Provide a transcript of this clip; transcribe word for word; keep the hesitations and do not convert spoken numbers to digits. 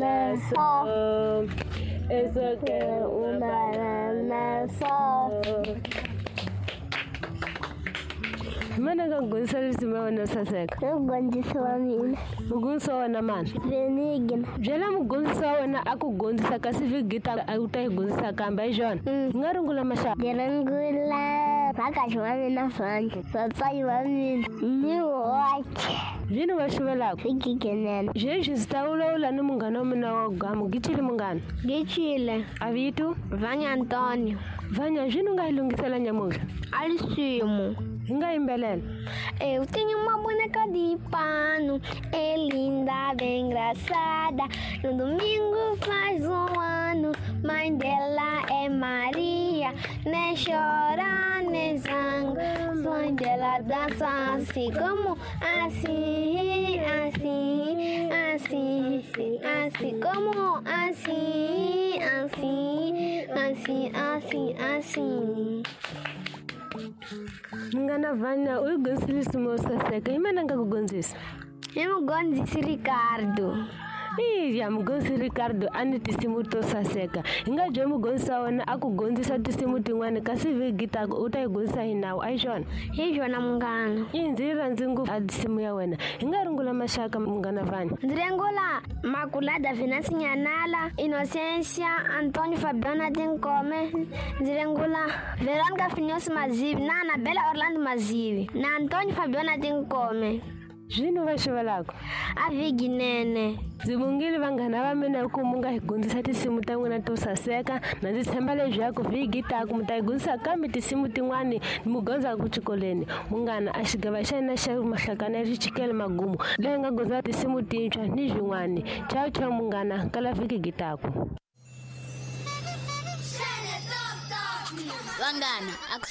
banana só. Eu só quero uma banana só. Mana ka gonisa risimu ya wena saseka. Mugondzisi wa mina. Mugondzisi wa wena mani? Benigna. Byela mugondzisi wa wena a ku gondzisa kasi vhiki a u ta yi gondzisa kambe a hi swona? Hi nga rungula maxaka. Ndzi rungula vhakachi wa mina Vhanya, vatswari va mina ni woxe. Yini va xuvelaka? Swigiginene. Sweswi ndzi ta vulavula ni munghana wa mina wa gamu. Gichile munghana? Gichile. A vito? Vhanya Antonio. Vhanya, swini u nga yi lunghisela nyamuntlha? A risimu. Hi nga yimbelela. Eu tenho uma boneca de pano, é linda, bem engraçada. No domingo faz um ano, mãe dela é Maria. Nem chora, nem zanga, mãe dela dança assim como assim, assim, assim, assim como assim, assim, assim, assim, assim. Munghana Vhanya, u yi gondzisile risimu yo saseka. Hi mani a nga ku gondzisa? I mugondzisi Ricardo. Iya, mugondzisi Ricardo a ni tinsimu to saseka. Hi nga byela mugondzisi wa wena a ku gondzisa tinsimu tin'wani kasi vhiki taka u ta yi gondzisa hi nawu, a hi swona? Hi swona munghana. I ndzi yi rhandzi ngopfu a nsimu ya wena. Hi nga rungula maxaka munghana Vhanya. Ndzi rungula Makulada Venance Nyanala, Inocência, Antônio Fabiana Tinkome. Ndzi rungula Veronica Finyosi Mazivi na Anabela Orlando Mazivi na Antônio Fabiana Tinkome. Zwino va xuvelaka? A vhiginene. Ndzi vongile vanghana va mina ku mu nga hi gondzisa tinsimu ta n'wina to saseka na ndzi tshemba leswaku vhiki taku mi ta yi gondzisa kambe tinsimu tin'wani mi gondzaka xikolweni. Munghana a xigava xa hina xa mahlakana ya xichikele magumu leyi nga gondza tinsimu tintshwa ni swin'wani. Ciao ciao munghana, kala vhiki gitaku. Vanghana, a ku